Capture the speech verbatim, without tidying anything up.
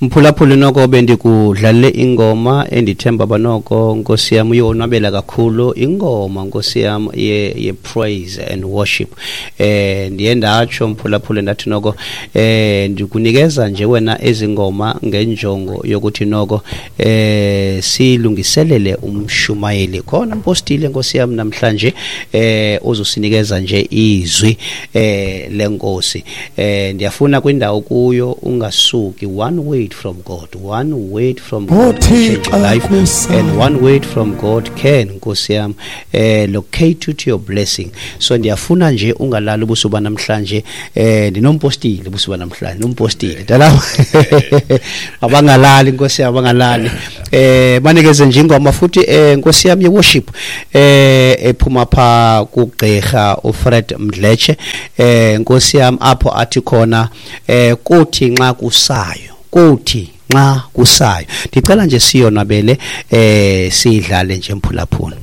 Mphulaphuli, noko bendikudlalele ingoma endithemba banoko, nkosi yam, uyonwabela kakhulu ingoma, nkosi yam, ye, ye praise and worship. eh ndiye ndatsho, mphulaphuli, ndathi noko eh ndikunikeza nje wena ezingoma ngenjongo yokuthi noko eh silungiselele umshumayeli khona, mpostile, nkosi yam, namhlanje eh uzosinikeza nje izwi eh lenkosi. eh ndiyafuna kwindawo kuyo ungasuki. One word from God, one word from God can change your life, and one word from God can, nkosi yam, eh locate you to your blessing. So ndiyafuna nje ungalali ubusuku namhlanje. eh ndinompostile ubusuku namhlanje, nompostile dala abangalali, nkosi yam, abangalali. eh banikeze nje ingoma futhi, eh nkosi yam, ye worship eh ephuma pha kugqirha uFred Mdletshe, eh nkosi yam, apho athi khona eh kuthi nxa kusayo, kuthi nxa kusayo. Ndicela nje siyonwabele, eh sidlale nje, mphulaphula.